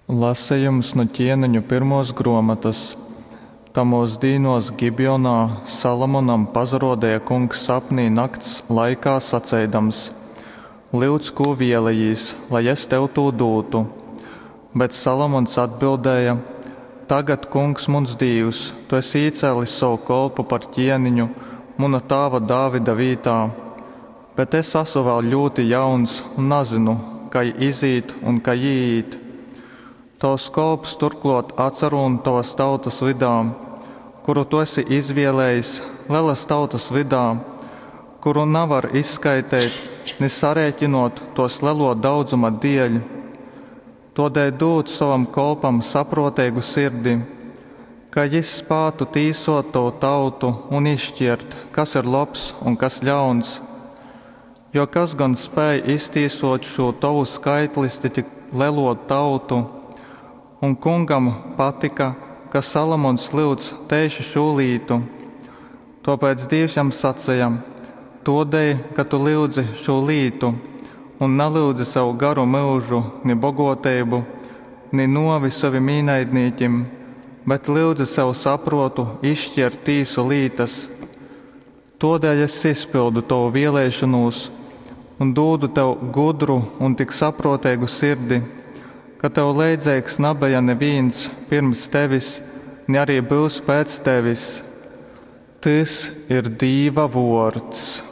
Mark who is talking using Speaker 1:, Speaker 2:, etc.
Speaker 1: Lasejums nu Ķieneņu pyrmuos gruomotys. Tamuos dīnuos Gibionā Salomonam pasaruodeja Kungs sapnī nakts laikā, saceidams, Lyudz, kū vēlejīs, lai es tev tū dūtu! Bet Salomons atbildēja, Tagad, Kungs, muns Dīvs, tu esi īcēlis sovu kolpu par ķieniņu muna tāva Dāvida vītā. Bet es asu vēl ļūti jauns un nazynu, kai izīt un kai īīt. Tovs kolps turklōt atsarūn tovas tautas vydā, kuru tu esi izvēlējis, lelas tautas vydā, kuru navar izskaiteit, ni sarēkinōt tōs lelō daudzuma dēļ. Tōdēļ dūd sovam kolpam saprōteigu sirdi, ka jys spātu tīsōt tovu tautu un izškiert, kas ir lobs un kas ļauns. Jo kas gon spēj iztīsōt šū tovu skaitliski tik lelo tautu? Un Kungam patyka, ka Salomons lyudz teiši šū lītu. Tōpēc Dīvs jam saceja, Tōdēļ, ka tu lyudzi šū lītu un nalyudzi sev garu myužu, ni bogōteibu, ni nōvi sovim īnaidnīkim, bet lyudzi sev saprōtu izškiert tīsu lītas, tōdēļ es izpyldu tovu vēlēšonūs un dūdu tev gudru un tik saprōteigu sirdi, ka tev leidzeigs nabeja nivīns pyrms tevis, ni ari byus pēc tevis. Tys ir Dīva vōrds.